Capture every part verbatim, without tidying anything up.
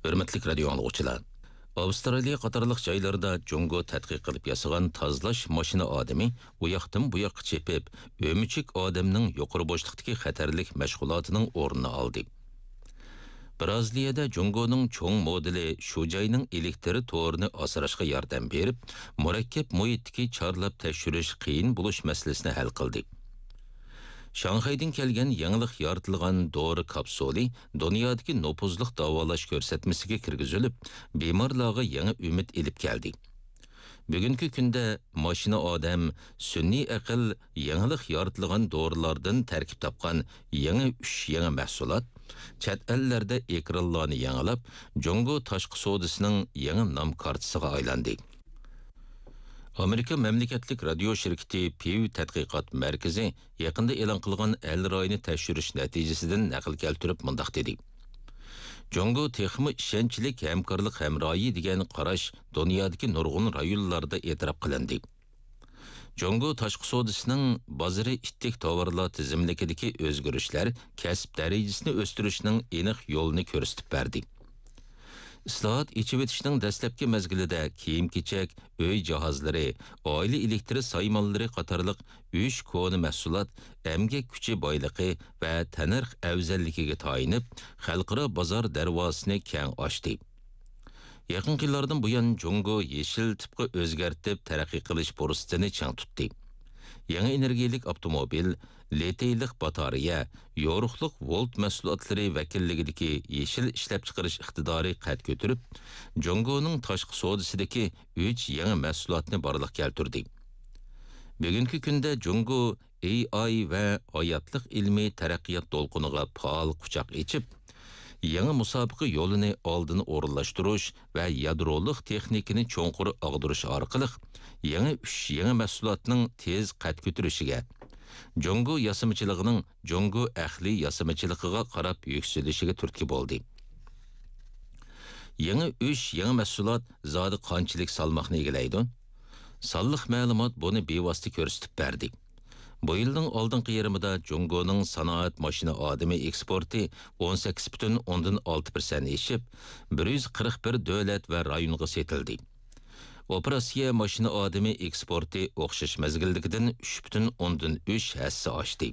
ھۆرمەتلىك رادىيو ئاڭلىغۇچىلار! ئاۋسترالىيە قاتارلىق جايلاردا جۇڭگو تەتقىق قىلىپ ياسىغان تازىلاش ماشىنا ئادىمى ئۇياقتىن بۇياققا چېپىپ، ئۆمۈچۈك ئادەمنىڭ يۇقىرى بوشلۇقتىكى خەتەرلىك مەشغۇلاتىنىڭ ئورنىنى ئالدى. بىرازىلىيەدە جۇڭگونىڭ چوڭ مودېلى شۇ جاينىڭ ئېلېكتر تورىنى ئاسراشقا ياردەم بېرىپ، مۇرەككەپ مۇھىتتىكى چارلاپ تەكشۈرۈش قىيىن بولۇش مەسىلىسىنى ھەل قىلدى. شاڭخەيدىن كەلگەن يېڭىلىق يارىتىلغان دورا كاپسۇلى دۇنيادىكى نوپۇزلۇق داۋالاش كۆرسەتمىسىگە كىرگۈزۈلۈپ، بىمارلارغا يېڭى ئۈمىد ئېلىپ كەلدى. بۈگۈنكى كۈندە ماشىنا ئادەم، سۈنئىي ئەقىل، يېڭىلىق يارىتىلغان دورىلاردىن تەركىب تاپقان يېڭى ئۈچ يېڭى مەھسۇلات چەت ئەللەردە ئېكرانلارنى يېڭىلاپ، جۇڭگو تاشقى سودىسىنىڭ يېڭى نام كارتىسىغا ئايلاندى. ئامېرىكا مەملىكەتلىك رادىيو شىركىتى پىۋ تەتقىقات مەركىزى يېقىندا ئېلان قىلغان ئەل رايىنى تەكشۈرۈش نەتىجىسىدىن نەقىل كەلتۈرۈپ مۇنداق دېدى: جۇڭگو تېخىمۇ ئىشەنچلىك ھەمكارلىق ھەمراھى دېگەن قاراش دۇنيادىكى نۇرغۇن رايونلاردا ئېتىراپ قىلىندى. جۇڭگو تاشقى سودىسىنىڭ بازىرى ئىتتىك تاۋارلار تىزىملىكىدىكى ئۆزگىرىشلەر كەسىپ دەرىجىسىنى ئۆستۈرۈشنىڭ ئېنىق يولىنى كۆرسىتىپ بەردى. ئىسلاھات، ئېچىۋېتىشنىڭ دەسلەپكى مەزگىلىدە كىيىم-كېچەك، ئۆي جاھازلىرى، ئائىلە ئېلېكتر سايمانلىرى قاتارلىق ئۈچ كونا مەھسۇلات ئەمگەك كۈچى بايلىقى ۋە تەننەرخ ئەۋزەللىكىگە تايىنىپ، خەلقئارا بازار دەرۋازىسىنى كەڭ ئاچتى. يېقىنقى يىللاردىن بۇيان، جۇڭگو يېشىل تىپقا ئۆزگەرتىپ تەرەققىي قىلىش پۇرسىتىنى چىڭ تۇتتى. يېڭى ئېنېرگىيەلىك ئاپتوموبىل، لىتىيلىق باتارېيە، يورۇقلۇق ۋولت مەھسۇلاتلىرى ۋەكىللىكىدىكى يېشىل ئىشلەپچىقىرىش ئىقتىدارى قەد كۆتۈرۈپ، جۇڭگونىڭ تاشقى سودىسىدىكى ئۈچ يېڭى مەھسۇلاتنى بارلىققا كەلتۈردى. بۈگۈنكى كۈندە جۇڭگو ئېي ئاي ۋە ھاياتلىق ئىلمىي تەرەققىيات دولقۇنىغا پائال قۇچاق ئېچىپ، يېڭى مۇسابىقە يولىنى ئالدىن ئورۇنلاشتۇرۇش ۋە يادرولۇق تېخنىكىنى چوڭقۇر ئاغدۇرۇش ئارقىلىق، يېڭى ئۈچ يېڭى مەھسۇلاتنىڭ تېز قەد كۆتۈرۈشىگە، جۇڭگو ياسىمىچىلىقىنىڭ جۇڭگو ئەقلىي ياسىمىچىلىقىغا قاراپ يۈكسىلىشىگە تۈرتكە بولدى. يېڭى ئۈچ يېڭى مەھسۇلات زادى قانچىلىك سالماقنى ئىگىلەيدۇ؟ سانلىق مەلۇمات بۇنى بىۋاسىتە كۆرسىتىپ بەردى. بۇ يىلنىڭ ئالدىنقى يېرىمىدا جۇڭگونىڭ سانائەت ماشىنا ئادىمى ئېكسپورتى ئون سەككىز پۈتۈن ئوندىن ئالتە پىرسەنت ئېشىپ، بىر يۈز قىرىق بىر دۆلەت ۋە رايونغا سېتىلدى. ئوپېراتسىيە ماشىنا ئادىمى ئېكسپورتى ئوخشاش مەزگىلدىكىدىن ئۈچ پۈتۈن ئوندىن ئۈچ ھەسسە ئاشتى.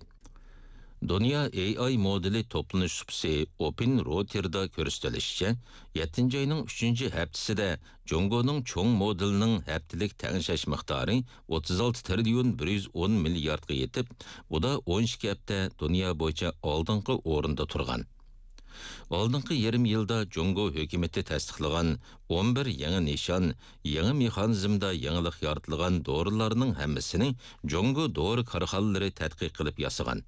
دۇنيا ئېي ئاي مودېلى توپلىنىش سۇپىسى ئوپېن روتېردا كۆرسىتىلىشىچە، يەتتىنچى ئاينىڭ ئۈچىنچى ھەپتىسىدە جۇڭگونىڭ چوڭ مودېلىنىڭ ھەپتىلىك تەڭشەش مىقدارى ئوتتۇز ئالتە تىرىليون بىر يۈز ئون مىلياردقا يېتىپ، ئۇدا ئون ئىككى ھەپتە دۇنيا بويىچە ئالدىنقى ئورۇندا تۇرغان. ئالدىنقى يېرىم يىلدا جۇڭگو ھۆكۈمىتى تەستىقلىغان ئون بىر يېڭى نىشان، يېڭى مېخانىزمدا يېڭىلىق يارىتىلغان دورىلارنىڭ ھەممىسىنى جۇڭگو دورا كارخانىلىرى تەتقىق قىلىپ ياسىغان.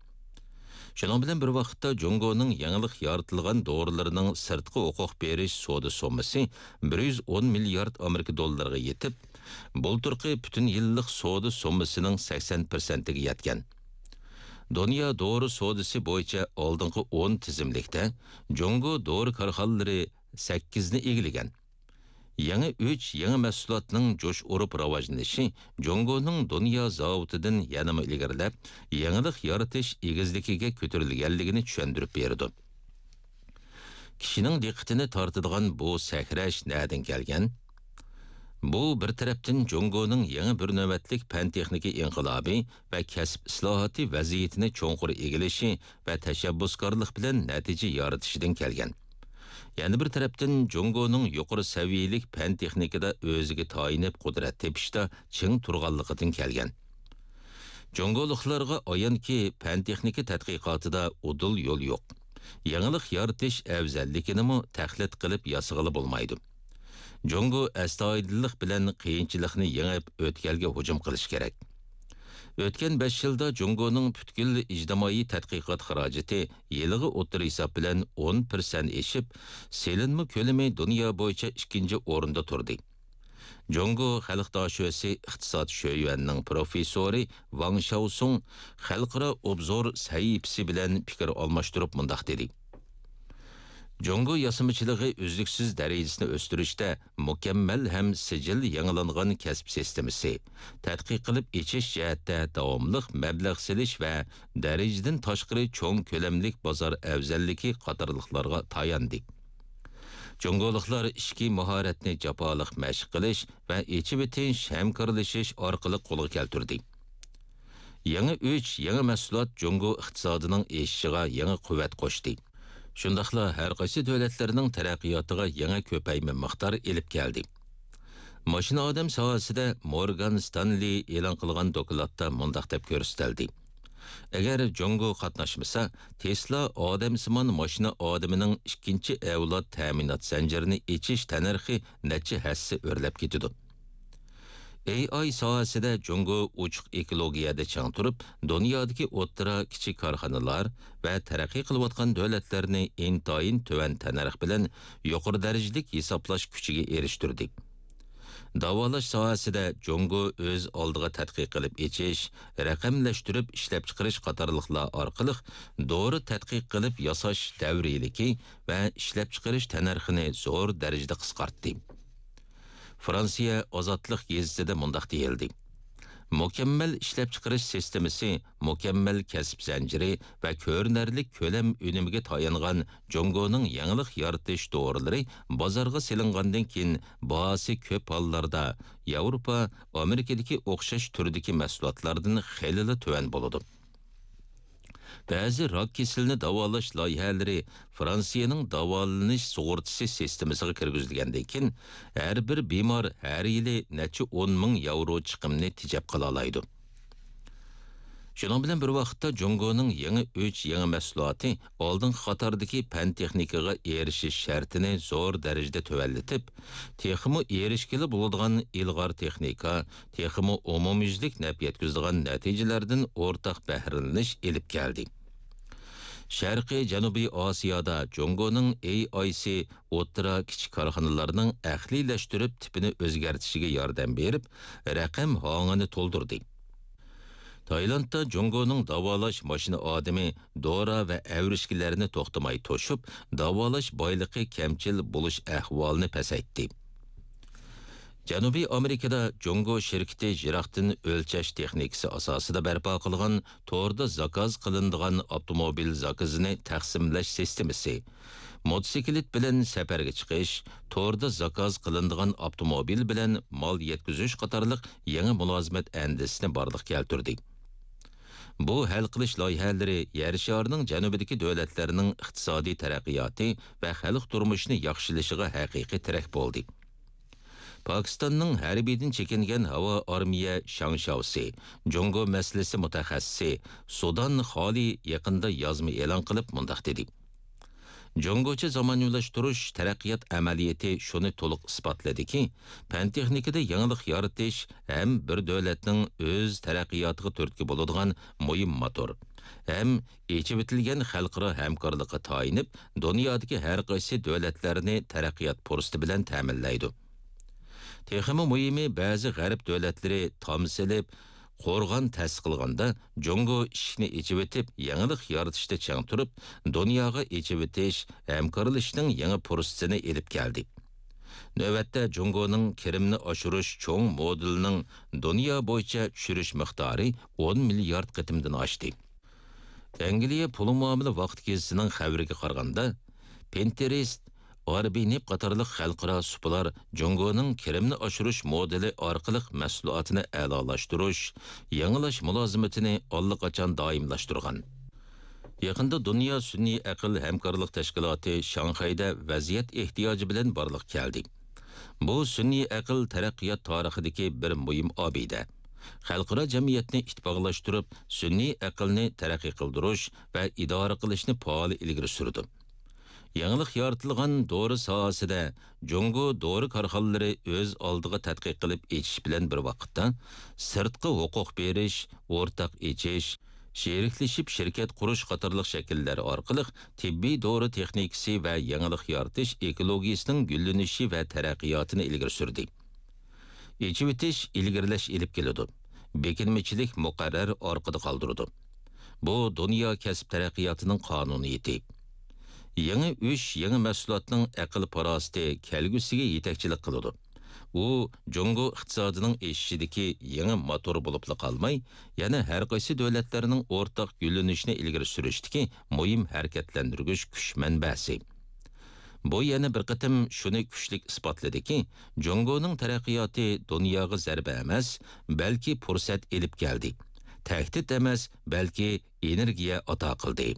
شۇنىڭ بىلەن بىر ۋاقىتتا، جۇڭگونىڭ يېڭىلىق يارىتىلغان دورىلىرىنىڭ سىرتقا ھوقۇق بېرىش سودا سوممىسى بىر يۈز ئون مىليارد ئامېرىكا دوللىرىغا يېتىپ، بۇلتۇرقى پۈتۈن يىللىق سودا سوممىسىنىڭ سەكسەن پىرسەنتىگە يەتكەن. دۇنيا دورا سودىسى بويىچە ئالدىنقى ئون تىزىملىكتە جۇڭگو دورا كارخانىلىرى سەككىزنى ئىگىلىگەن. يېڭى ئۈچ يېڭى مەھسۇلاتنىڭ جۇش ئۇرۇپ راۋاجلىنىشى جۇڭگونىڭ دۇنيا زاۋۇتىدىن يەنىمۇ ئىلگىرىلەپ، يېڭىلىق يارىتىش ئېگىزلىكىگە كۆتۈرۈلگەنلىكىنى چۈشەندۈرۈپ بېرىدۇ. كىشىنىڭ دىققىتىنى تارتىدىغان بۇ سەكرەش نەدىن كەلگەن؟ بۇ، بىر تەرەپتىن، جۇڭگونىڭ يېڭى بىر نۆۋەتلىك پەن-تېخنىكا ئىنقىلابى ۋە كەسىپ ئىسلاھاتى ۋەزىيىتىنى چوڭقۇر ئىگىلىشى ۋە تەشەببۇسكارلىق بىلەن نەتىجە يارىتىشىدىن كەلگەن. يەنە بىر تەرەپتىن، جۇڭگونىڭ يۇقىرى سەۋىيەلىك پەن-تېخنىكىدا ئۆزىگە تايىنىپ قۇدرەت تېپىشتا چىڭ تۇرغانلىقىدىن كەلگەن. جۇڭگولۇقلارغا ئايانكى، پەن-تېخنىكا تەتقىقاتىدا ئۇدۇل يول يوق. يېڭىلىق يارىتىش ئەۋزەللىكىنىمۇ تەقلىد قىلىپ ياسىغىلى بولمايدۇ. جۇڭگو ئەستايىدىللىق بىلەن قىيىنچىلىقنى يېڭىپ، ئۆتكەلگە ھۇجۇم قىلىش كېرەك. ئۆتكەن بەش يىلدا جۇڭگونىڭ پۈتكۈل ئىجتىمائىي تەتقىقات خىراجىتى يىلىغا ئوتتۇرا ھېساب بىلەن ئون پىرسەنت ئېشىپ، سېلىنما كۆلىمى دۇنيا بويىچە ئىككىنچى ئورۇندا تۇردى. جۇڭگو خەلق داشۆسى ئىقتىساد شۆيۈەننىڭ پروفېسسورى ۋاڭ شياۋسۇڭ خەلقئارا ئوبزور سەھىپىسى بىلەن پىكىر ئالماشتۇرۇپ مۇنداق دېدى: جۇڭگو ياسىمىچىلىقى ئۈزلۈكسىز دەرىجىسىنى ئۆستۈرۈشتە مۇكەممەل ھەم سىجىل يېڭىلانغان كەسىپ سىستېمىسى، تەتقىق قىلىپ ئېچىش جەھەتتە داۋاملىق مەبلەغ سېلىش ۋە دەرىجىدىن تاشقىرى چوڭ كۆلەملىك بازار ئەۋزەللىكى قاتارلىقلارغا تاياندى. جۇڭگولۇقلار ئىچكى ماھارەتنى جاپالىق مەشىق قىلىش ۋە ئېچىۋېتىش، ھەمكارلىشىش ئارقىلىق قولغا كەلتۈردى. يېڭى ئۈچ يېڭى مەھسۇلات جۇڭگو ئىقتىسادىنىڭ ئېشىشىغا يېڭى قۇۋۋەت قوشتى. شۇنداقلا ھەر قايسى دۆلەتلەرنىڭ تەرەققىياتىغا يېڭى كۆپەيمە مىقدار ئېلىپ كەلدى. ماشىنا ئادەم ساھەسىدە مورگان ستانلى ئېلان قىلغان دوكلاتتا مۇنداق دەپ كۆرسىتىلدى: ئەگەر جۇڭگو قاتناشمىسا، تېسلا ئادەمسىمان ماشىنا ئادىمىنىڭ ئىككىنچى ئەۋلاد تەمىنات زەنجىرىنى ئېچىش تەننەرخى نەچچە ھەسسە ئۆرلەپ كېتىدۇ. ئېي ئاي ساھەسىدە جۇڭگو ئوچۇق ئېكولوگىيەدە چىڭ تۇرۇپ، دۇنيادىكى ئوتتۇرا، كىچىك كارخانىلار ۋە تەرەققىي قىلىۋاتقان دۆلەتلەرنى ئىنتايىن تۆۋەن تەننەرخ بىلەن يۇقىرى دەرىجىلىك ھېسابلاش كۈچىگە ئېرىشتۈردى. داۋالاش ساھەسىدە جۇڭگو ئۆز ئالدىغا تەتقىق قىلىپ ئېچىش، رەقەملەشتۈرۈپ ئىشلەپچىقىرىش قاتارلىقلار ئارقىلىق دورا تەتقىق قىلىپ ياساش دەۋرىيلىكى ۋە ئىشلەپچىقىرىش تەننەرخىنى زور دەرىجىدە قىسقارتتى. فرانسىيە ئازادلىق گېزىتىدە مۇنداق دېيىلدى: مۇكەممەل ئىشلەپچىقىرىش سىستېمىسى، مۇكەممەل كەسىپ زەنجىرى ۋە كۆرۈنەرلىك كۆلەم ئۈنۈمىگە تايانغان جۇڭگونىڭ يېڭىلىق يارىتىش دورىلىرى بازارغا سېلىنغاندىن كېيىن، باھاسى كۆپ ھاللاردا ياۋروپا، ئامېرىكىدىكى ئوخشاش تۈردىكى مەھسۇلاتلاردىن خېلىلا تۆۋەن بولىدۇ. بەزى راك كېسىلىنى داۋالاش لايىھەلىرى فرانسىيەنىڭ داۋالىنىش سۇغۇرتىسى سىستېمىسىغا كىرگۈزۈلگەندىن كېيىن، ھەر بىر بىمار ھەر يىلى نەچچە ئون مىڭ ياۋرو چىقىمنى تېجەپ قالالايدۇ. شۇنىڭ بىلەن بىر ۋاقىتتا، جۇڭگونىڭ يېڭى ئۈچ يېڭى مەھسۇلاتى ئالدىنقى قاتاردىكى پەن-تېخنىكىغا ئېرىشىش شەرتىنى زور دەرىجىدە تۆۋەنلىتىپ، تېخىمۇ ئېرىشكىلى بولىدىغان ئىلغار تېخنىكا، تېخىمۇ ئومۇميۈزلۈك نەپ يەتكۈزىدىغان نەتىجىلەردىن ئورتاق بەھرىلىنىش ئېلىپ كەلدى. شەرقىي جەنۇبىي ئاسىيادا جۇڭگونىڭ ئېي ئايسى ئوتتۇرا، كىچىك كارخانىلارنىڭ ئەقلىيلەشتۈرۈپ تىپىنى ئۆزگەرتىشىگە ياردەم بېرىپ، رەقەم ھاڭىنى تولدۇردى. تايلاندتا جۇڭگونىڭ داۋالاش ماشىنا ئادىمى دورا ۋە ئەۋرىشكىلەرنى توختىماي توشۇپ، داۋالاش بايلىقى كەمچىل بولۇش ئەھۋالىنى پەسەيتتى. جەنۇبىي ئامېرىكىدا جۇڭگو شىركىتى يىراقتىن ئۆلچەش تېخنىكىسى ئاساسىدا بەرپا قىلغان توردا زاكاز قىلىنىدىغان ئاپتوموبىل زاكىزىنى تەقسىملەش سىستېمىسى، موتوسىكلىت بىلەن سەپەرگە چىقىش، توردا زاكاز قىلىنىدىغان ئاپتوموبىل بىلەن مال يەتكۈزۈش قاتارلىق يېڭى مۇلازىمەت ئەندىزىسىنى بارلىققا كەلتۈردى. بۇ ھەل قىلىش لايىھەلىرى يەر شارىنىڭ جەنۇبىدىكى دۆلەتلەرنىڭ ئىقتىسادىي تەرەققىياتى ۋە خەلق تۇرمۇشىنى ياخشىلىشىغا ھەقىقىي تىرەك بولدى. پاكىستاننىڭ ھەربىيدىن چېكىنگەن ھاۋا ئارمىيە شاڭشياۋسى، جۇڭگو مەسىلىسى مۇتەخەسسىسى سۇدان خالى يېقىندا يازما ئېلان قىلىپ مۇنداق دېدى: جۇڭگوچە زامانىۋىلاشتۇرۇش تەرەققىيات ئەمەلىيىتى شۇنى تولۇق ئىسپاتلىدىكى، پەن-تېخنىكىدا يېڭىلىق يارىتىش ھەم بىر دۆلەتنىڭ ئۆز تەرەققىياتىغا تۈرتكە بولىدىغان مۇھىم موتور ھەم ئېچىۋېتىلگەن خەلقئارا ھەمكارلىققا تايىنىپ، دۇنيادىكى ھەر قايسى دۆلەتلەرنى تەرەققىيات پۇرسىتى بىلەن تەمىنلەيدۇ. تېخىمۇ مۇھىمى، بەزى غەرب دۆلەتلىرى تام سېلىپ، قورغان تەسىس قىلغاندا، جۇڭگو ئىشىكنى ئېچىۋېتىپ، يېڭىلىق يارىتىشتا چىڭ تۇرۇپ، دۇنياغا ئېچىۋېتىش، ھەمكارلىشىشنىڭ يېڭى پۇرسىتىنى ئېلىپ كەلدى. نۆۋەتتە، جۇڭگونىڭ كىرىمنى ئاشۇرۇش چوڭ مودېلىنىڭ دۇنيا بويىچە چۈشۈرۈش مىقدارى ئون مىليارد قېتىمدىن ئاشتى. ئەنگلىيە پۇل مۇئامىلە ۋاقتى گېزىتىنىڭ خەۋىرىگە قارىغاندا، پىنتېرېست، ئاربىنېپ قاتارلىق خەلقئارا سۇپىلار جۇڭگونىڭ كىرىمنى ئاشۇرۇش مودېلى ئارقىلىق مەھسۇلاتىنى ئەلالاشتۇرۇش، يېڭىلاش مۇلازىمىتىنى ئاللىقاچان دائىملاشتۇرغان. يېقىندا دۇنيا سۈنئىي ئەقىل ھەمكارلىق تەشكىلاتى شاڭخەيدە ۋەزىيەت ئېھتىياجى بىلەن بارلىققا كەلدى. بۇ سۈنئىي ئەقىل تەرەققىيات تارىخىدىكى بىر مۇھىم ئابىدە. خەلقئارا جەمئىيەتنى ئىتتىپاقلاشتۇرۇپ، سۈنئىي ئەقىلنى تەرەققىي قىلدۇرۇش ۋە ئىدارە قىلىشنى پائال ئىلگىرى سۈرىدۇ. يېڭىلىق يارىتىلغان دورا ساھەسىدە جۇڭگو دورا كارخانىلىرى ئۆز ئالدىغا تەتقىق قىلىپ ئېچىش بىلەن بىر ۋاقىتتا، سىرتقا ھوقۇق بېرىش، ئورتاق ئېچىش، شېرىكلىشىپ شىركەت قۇرۇش قاتارلىق شەكىللەر ئارقىلىق تېببىي دورا تېخنىكىسى ۋە يېڭىلىق يارىتىش ئېكولوگىيىسىنىڭ گۈللىنىشى ۋە تەرەققىياتىنى ئىلگىرى سۈردى. ئېچىۋېتىش ئىلگىرىلەش ئېلىپ كېلىدۇ، بېكىنمىچىلىك مۇقەررەر ئارقىدا قالدۇرىدۇ. بۇ دۇنيا كەسىپ تەرەققىياتىنىڭ قانۇنىيىتى. يېڭى ئۈچ يېڭى مەھسۇلاتنىڭ ئەقىل-پاراسىتى كەلگۈسىگە يېتەكچىلىك قىلىدۇ. ئۇ جۇڭگو ئىقتىسادىنىڭ ئېشىشىدىكى يېڭى موتور بولۇپلا قالماي، يەنە ھەر قايسى دۆلەتلەرنىڭ ئورتاق گۈللىنىشىنى ئىلگىرى سۈرۈشتىكى مۇھىم ھەرىكەتلەندۈرگۈچ كۈچ مەنبەسى. بۇ يەنە بىر قېتىم شۇنى كۈچلۈك ئىسپاتلىدىكى، جۇڭگونىڭ تەرەققىياتى دۇنياغا زەربە ئەمەس، بەلكى پۇرسەت ئېلىپ كەلدى. تەھدىت ئەمەس، بەلكى ئېنېرگىيە ئاتا قىلدى.